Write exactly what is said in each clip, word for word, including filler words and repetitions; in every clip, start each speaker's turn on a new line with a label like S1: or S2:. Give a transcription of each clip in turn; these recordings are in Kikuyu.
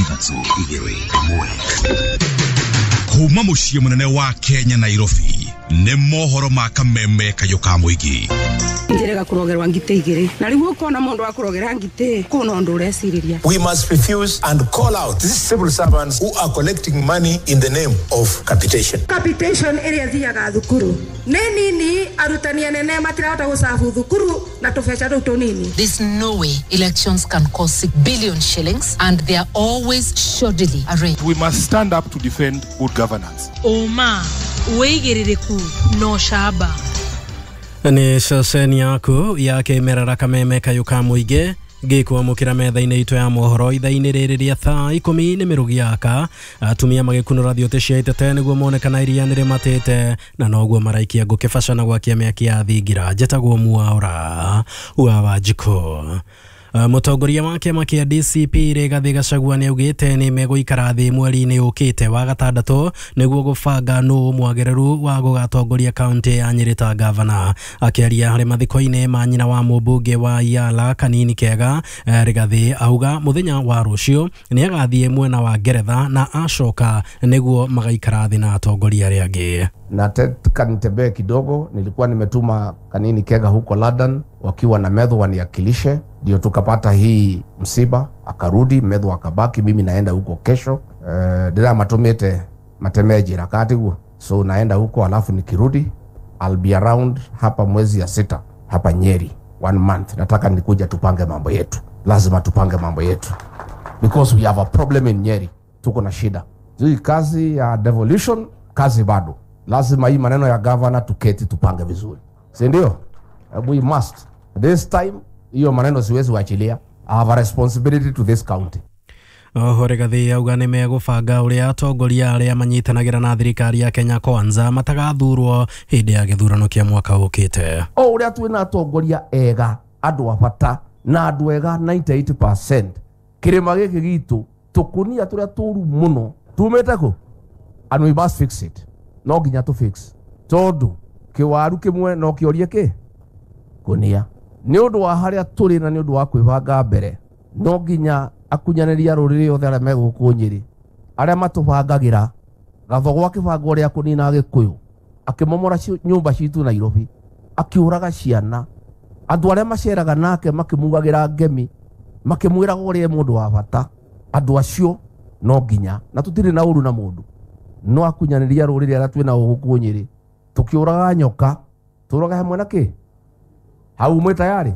S1: Ithatũ, igĩrĩ, ĩmwe. Kuma mũciĩ mũnene wa Kenya, Nairobi, nĩ mohoro ma kameme kayũ ka mũingĩ.
S2: Njĩrĩga kũrogerwa ngitĩ igĩrĩ na rĩu ũkona mũndũ wa kũrogera ngitĩ kũna ũndũ ũrecirĩria.
S3: We must refuse and call out these civil servants who are collecting money in the name of capitation.
S2: Capitation ĩrĩa ĩthiaga thukuru nĩ nini, arutani anene matirahota gũcabu thukuru na tũbeca tũu tũnini.
S4: There's no way elections can cost six billion shillings and they are always shoddily arranged.
S5: We must stand up to defend good governance.
S6: Ũma, wĩigĩrĩrĩku na ũcamba.
S7: Nĩ ceceni yaku ya kĩmerera kameme kayũ ka mũingĩ ngĩkwamũkĩra metha-inĩ itũ ya mohoro ithaa-inĩ rĩrĩ rĩa thaa ikũmi nĩ mĩrũgi yaka. Atumia magĩkunũra thiũtĩ cia itete nĩguo mone kana iria nĩ rĩmatĩte na noguo maraikia ngũkĩ na gwakia mĩaki ya thingira. Njĩtagwo Mwaũra wa Wanjikũ. Mũtongoria wa kĩama kĩa D C P Rigathĩ Gachagua nĩ augĩte nĩ megũikara thĩ mweri-inĩ ũkĩte wa gatandatũ nĩguo gũbanga nũ mwagĩrĩru wa gũgatongoria kaunti ya Nyĩrĩ ta gavana. Akĩaria harĩ mathiko-inĩ ma nyina wa mũmbunge wa Yala Kanini Kega, Rigathĩ auga mũthenya wa rũciũ nĩ agathiĩ mwena wa Ngeretha na acoka nĩguo magaikara thĩ na atongoria arĩa angĩ.
S8: Nataka nitembee kidogo. Nilikuwa nimetuma Kanini Kega huko London wakiwa na Methu waniakilishe, ndio tukapata hii msiba, akarudi Methu akabaki, mimi naenda huko kesho. Uh, ndira matumite matemee njira katiguo, so naenda huko alafu nikirudi I'll be around hapa mwezi ya sita hapa Nyeri one month. Nataka nikuja tupange mambo yetu, lazima tupange mambo yetu because we have a problem in Nyeri, tuko na shida. Hii kazi ya devolution, kazi bado lazima hii maneno ya governor tuketi tupange vizuri, si ndio? We must this time, hiyo maneno siwezi wachilia. I have a responsibility to this county.
S7: Oho Rigathĩ auga nĩ megũbanga ũrĩa atongoria arĩa manyitanagĩra na thirikari ya Kenya Kwanza matagathurwo hĩndĩ ya gĩthurano kĩa mwaka ũkĩte.
S8: O ũrĩa twĩna atongoria ega, andũ a bata na andũ ega ninety-eight percent, kĩrĩma gĩkĩ gitũ tũkũnia tũrĩa tũru mũno tumĩte kũ, and we must fix it. No nginya tũ fix tondũ kĩwaru kĩmwe no kĩorie kĩ kũnia. Nĩ ũndũ wa harĩa tũrĩ na nĩ ũndũ wa kwĩbanga mbere, no nginya akunyanĩria rũrĩrĩ othe arĩa me gũkũ Nyĩrĩ, arĩa matũbangagĩra Gathogo akĩbanga ũrĩa kũnina Agĩkũyũ, akĩmomora nyũmba citũ Nairobi, akĩũraga ciana, andũ arĩa maceraga nake makĩmugagĩra ngemi, makĩmwĩraga ũrĩa mũndũ wa bata, andũ acio no nginya, na tũtirĩ na ũru na mũndũ, no akunyanĩria rũrĩrĩ arĩa twĩna gũkũ Nyĩrĩ, tũkĩũraga nyoka tũrage hamwe na kĩ hau mwĩ tayari.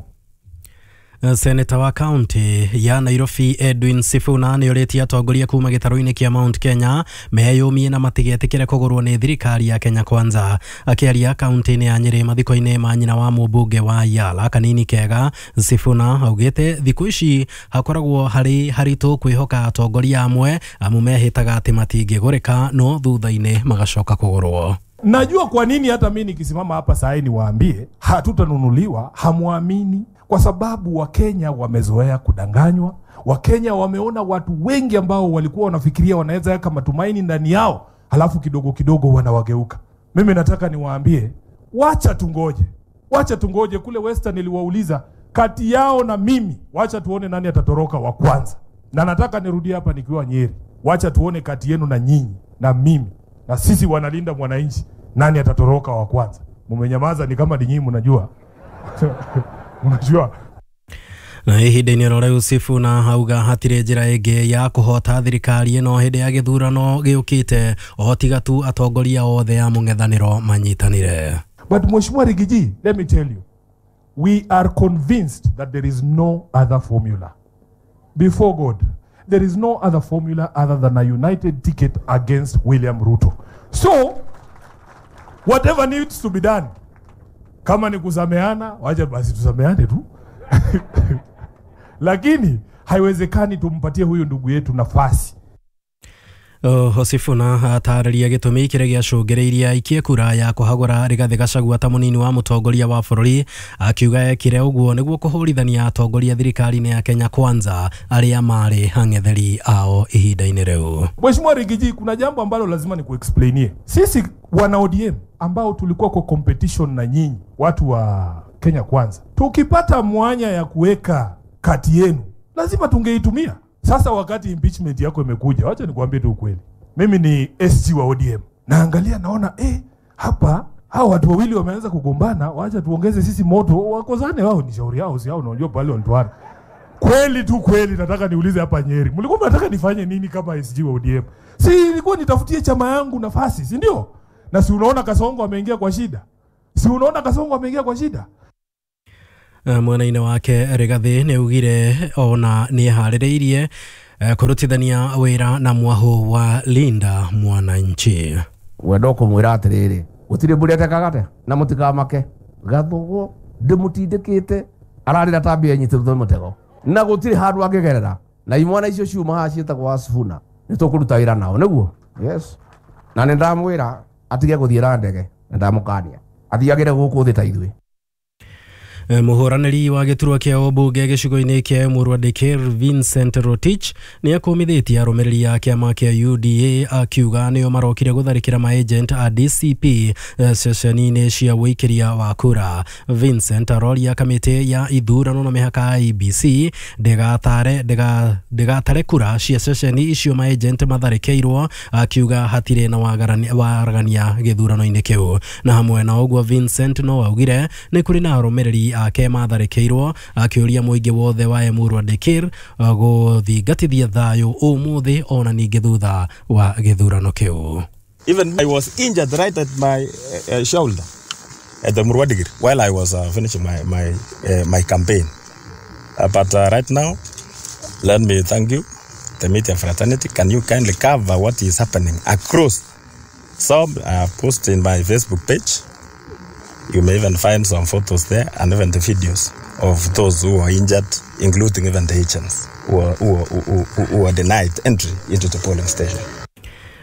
S7: Seneta wa kaunti ya Nairobi Edwin Sifuna nĩ orĩtie atongoria kuma gĩtarũ-inĩ kĩa Mount Kenya meyũmie na matigetĩkĩre kũgũrwo nĩ thirikari ya Kenya Kwanza. Akĩaria kaunti-inĩ ya Nyĩrĩ mathiko-inĩ ma nyina wa mũmbunge wa Yala Kanini Kega, Sifuna augĩte thikũ ici hakoragwo harĩ haritũ kwĩhoka atongoria amwe amu mehĩtaga atĩ matingĩgũrĩka no thutha-inĩ magacoka kũgũrwo.
S5: Najua kwa nini hata mimi nikisimama hapa saa hii niwaambie hatutanunuliwa, hamuamini, kwa sababu Wakenya wamezoea kudanganywa. Wakenya wameona watu wengi ambao walikuwa wanafikiria wanaweza weka matumaini ndani yao, halafu kidogo kidogo wanawageuka. Mimi nataka niwaambie, wacha tungoje, wacha tungoje. Kule Western niliwauliza kati yao na mimi, wacha tuone nani atatoroka wa kwanza. Na nataka nirudie hapa nikiwa Nyeri, wacha tuone kati yenu na nyinyi na mimi na sisi wanalinda mwananchi, nani atatoroka wa kwanza? Mumenyamaza ni kama ninyi mnajua. Mnajua.
S7: Na ihinda-inĩ oro rĩu Sifuna auga hatirĩ njĩra ĩngĩ ya kũhota thirikari ĩno hĩndĩ ya gĩthurano gĩũkĩte o tiga tu atongoria othe a mũng'ethanĩro manyitanĩre.
S5: But Mheshimiwa Riggy G, let me tell you, we are convinced that there is no other formula. Before God, there is no other formula other than a united ticket against William Ruto. So, whatever needs to be done, kama ni kusameana, wacha basi tusameane tu. Lakini haiwezekani tumpatie huyu ndugu yetu nafasi.
S7: Oho Sifuna atarĩria gĩtũmi kĩrĩa gĩacũngĩrĩirie aikie kura ya kũhagũra Rigathĩ Gachagua ta mũnini wa mũtongoria wa bũrũri, akiuga ekire ũguo nĩguo kũhũrithania atongoria thirikari-inĩ ya Kenya Kwanza arĩa marĩ ang'etheri ao ihinda-inĩ rĩu.
S5: Mheshimiwa Riggy G, kuna jambo ambalo lazima nikuexplainie. Sisi wana O D M ambao tulikuwa kwa competition na nyinyi watu wa Kenya Kwanza, tukipata mwanya ya kuweka kati yenu lazima tungeitumia. Sasa wakati impeachment yako imekuja, wacha nikuambie tu ukweli. Mimi ni S G wa O D M. Naangalia naona eh hapa hao watu wawili wameanza kugombana, wacha tuongeze sisi moto, wakozane wao, ni shauri yao, si hao unajua pale wanatoana. Kweli tu kweli nataka niulize hapa Nyeri. Mlikuwa mnataka nifanye nini kama S G wa O D M? Si nilikuwa nitafutie chama yangu nafasi, si ndio? Na si unaona Kasongo ameingia kwa shida? Si unaona Kasongo ameingia kwa shida?
S7: Mwena-inĩ wake Rigathi nĩ augire ona nĩ eharĩrĩirie kũrutithania wĩra na mwahu wa Linda Mwananchi.
S8: Wendo kũmwĩra atĩrĩrĩ, gũtirĩ mbũri atekaga na mũtikamake Gathugo ndĩmũtindĩkĩte ararĩra ta mbĩa nyitĩrĩtwo nĩ mũtego na gũtirĩ handũ angĩgerera na imwana icio ciuma haha ciĩtagwo Asifuna nĩ tũkũruta wĩra nao nĩguo. Yes, na nĩ ndamwĩra atige gũthiĩ na ndege na ndamũkania athiagĩre gũkũ thĩ ta ithuĩ.
S7: Mũhũranĩri wa gĩturwa kĩa ũmbunge gĩcigo-inĩ kĩa Emurua Dikirr Vincent Rotich nĩ akũmithĩtie arũmĩrĩri a kĩama kĩa U D A akiuga nĩo marokire gũtharĩkĩra maagent a D C P ceceni-inĩ cia ũikĩria wa kura. Vincent aroria kamĩtĩ ya ithurano na mĩhaka I B C ndĩgatare ndĩgatare kura cia ceceni icio maagent matharĩkĩirwo akiuga hatirĩ na waragania gĩthurano-inĩ kĩu. Na hamwe na ũguo Vincent no augire nĩ kũrĩ na arũmĩrĩri ake matharĩkĩirwo akĩũria mũingĩ wothe wa Emurua Dikirr gũthingatithia thayũ ũmũthĩ ona ningĩ thutha wa gĩthurano kĩu.
S9: Even I was injured right at my uh, shoulder at the Emurua Dikirr while I was uh, finishing my my uh, my campaign. Uh, but uh, right now, let me thank you, the media fraternity. Can you kindly cover what is happening across? Some I have posted in my Facebook page. You may even find some photos there and even the videos of those who are injured, including even the agents who are, who are, who, who, who are denied entry into the polling station.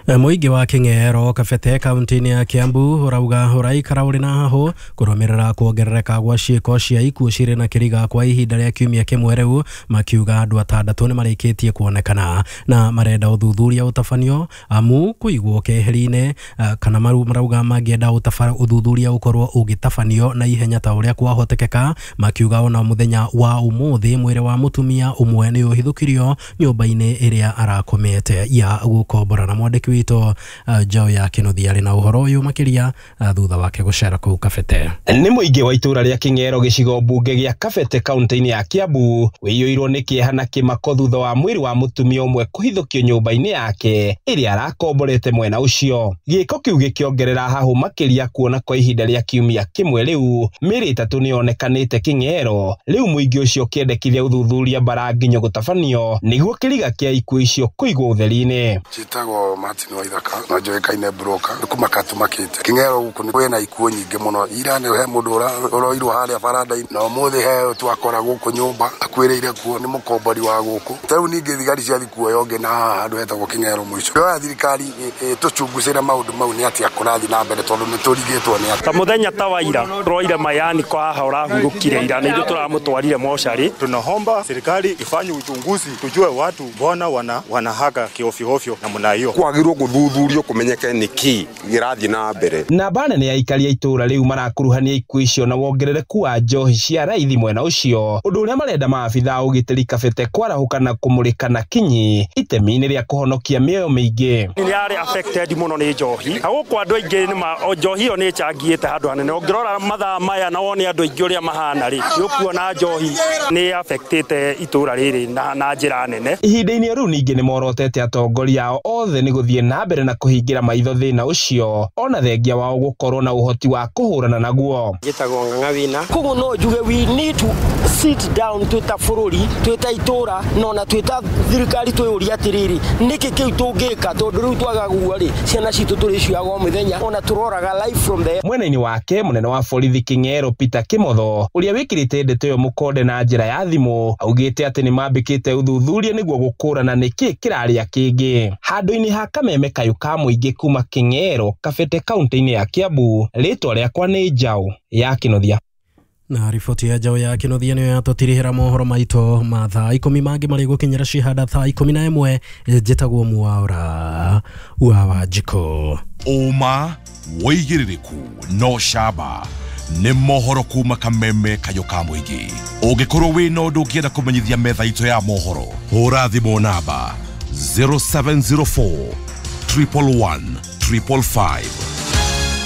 S7: Mũingĩ wa Kĩng'ero Kabete kaunti-inĩ ya Kiambu ũrauga ũraikara ũrĩ na hahũ kũrũmĩrĩra kuongerereka gwa ciĩko cia ikuũ cirĩ na kĩriga kwa ihinda rĩa kiumia kĩmwe rĩu, makiuga andũ atandatũ nĩ marĩkĩtie kuonekana na marenda ũthuthuria ũtabanio amu kũigwo keheri-inĩ kana marauga mangĩenda ũthuthuria ũkorwo ũgĩtabanio na ihenya ta ũrĩa kwahotekeka, makiuga ona mũthenya wa ũmũthĩ mwĩrĩ wa mũtumia ũmwe nĩ ũhithũkirio nyũmba-inĩ ĩrĩa arakomete ya gũkombora. Na mwandĩki witũ Joe ya Kĩnuthia arĩ na ũhoro ũyũ makĩria thutha wake gũcera kũu Kabete.
S10: Nĩ mũingĩ wa itũra rĩa Kĩng'ero gĩcigo mbunge gĩa Kabete kaunti-inĩ ya Kiambu wĩiyũirwo nĩ kĩeha na kĩmako thutha wa mwĩrĩ wa mũtumia ũmwe kũhithũkio nyũmba-inĩ yake ĩrĩa arakomborete mwena ũcio. Gĩko kĩu gĩkĩongerera hahũ makĩria kuona kwa ihinda rĩa kiumia kĩmwe rĩu mĩĩrĩ ĩtatũ nĩyonekanĩte Kĩng'ero. Rĩu mũingĩ ũcio ũkĩendekithia ũthuthuria mbara nginyo gũtabanio nĩguo kĩriga kĩa ikuũ icio kũigwo ũtheri-inĩ.
S11: Njĩtagwo Martin Waithaka na njoĩkaine broker nĩ kũmaka tũmakĩte Kĩng'ero gũkũ nĩ kwĩna ikuũ nyingĩ mũno. Ira nĩ he mũndũ ũroirwo harĩa baranda-inĩ na ũmũthĩ he twakora gũkũ nyũmba akuĩrĩire kuo nĩ mũkombori wa gũkũ. Ta rĩu ningĩ thigari ciathiĩ kuoya ũngĩ na haha handũ hetagwo Kĩng'ero mũico. Ndĩroya thirikari tũchungucĩre maũndũ mau nĩ atĩa kũrathiĩ na mbere tondũ nĩ tũrigĩtwo nĩ atĩa.
S12: Ta mũthenya ta wa ira tũroire mayani kwa haha ũrahurũkire ira na ithuĩ tũramũtwarire mocarĩ.
S13: Tunaomba serikali ifanye uchunguzi tujue watu mbona wana wanahaka kiofyo namna hiyo.
S14: Kwagĩrĩirwo gũthuthurio kũmenyeke nĩkĩ gĩrathiĩ na mbere.
S10: Namba nene ya aikari a itũra rĩu marakuruhania ikuũ icio na wongerereku wa njohi cia raithi mwena ũcio, ũndũ ũrĩa marenda maabitha a ũgitĩri Kabete kwarahũka na kũmũrĩka na kinyi itemi-inĩ rĩa kũhonokia mĩoyo mĩingĩ.
S12: Nĩ yarĩ affected mũno nĩ njohi na gũkũ andũ aingĩ nĩ njohi ĩyo nĩ ĩcangĩte handũ hanene. Ũngĩrora mathaa maya na wone andũ aingĩ ũrĩa mahana rĩ, nĩ ũkuona njohi nĩ affectĩte itũra rĩrĩ na, na njĩra nene.
S10: Ihinda-inĩ rĩu ningĩ nĩ morotete atongoria ao othe nĩ gũthiĩ na mbere na kũhingĩra maitho thĩna ũcio ona thengia wao gũkorwo na ũhoti wa kũhũrana naguo.
S15: Njĩtagwo Ng'ang'a Wina. Koguo no njuge we need to sit down twĩ ta bũrũri, twĩ ta itũra na ona twĩ ta thirikari twĩyũrie atĩrĩrĩ, nĩkĩ kĩu tũngĩka tondũ rĩu twaga guo rĩ, ciana citũ tũrĩcioyaga o mũthenya ona tũroraga life from there.
S10: Mwena-inĩ wake mũnene wa borithi Kĩng'ero Peter Kĩmotho ũrĩa wĩkĩrĩte ndeto ĩyo mũkonde na njĩra ya thimũ augĩte atĩ nĩ mambĩkĩte ũthuthuria nĩguo gũkũrana nĩkĩ kĩrarĩa kĩngĩ. Handũ-inĩ ha kameme kayũ ka mũingĩ kuma Kĩng'ero Kabete kaunti-inĩ ya Kiambu, rĩtwa rĩakwa nĩ Njaũ ya Kĩnuthia.
S7: Na riboti ya Njaũ ya Kĩnuthia nĩyo yatũtirihĩra mohoro maitũ ma thaa ikũmi mangĩ marĩ gũkinyĩra cihanda thaa ikũmi na ĩmwe. Njĩtagwo Mwaura wa Wanjikũ.
S1: Ũma wĩigĩrĩrĩku no camba Nĩ mohoro kuma kameme kayũ ka mũingĩ. Ũngĩkorwo wĩna ũndũ ũngĩenda kũmenyithia metha itũ ya mohoro, hũra thimũ namba zero seven zero four triple one triple five.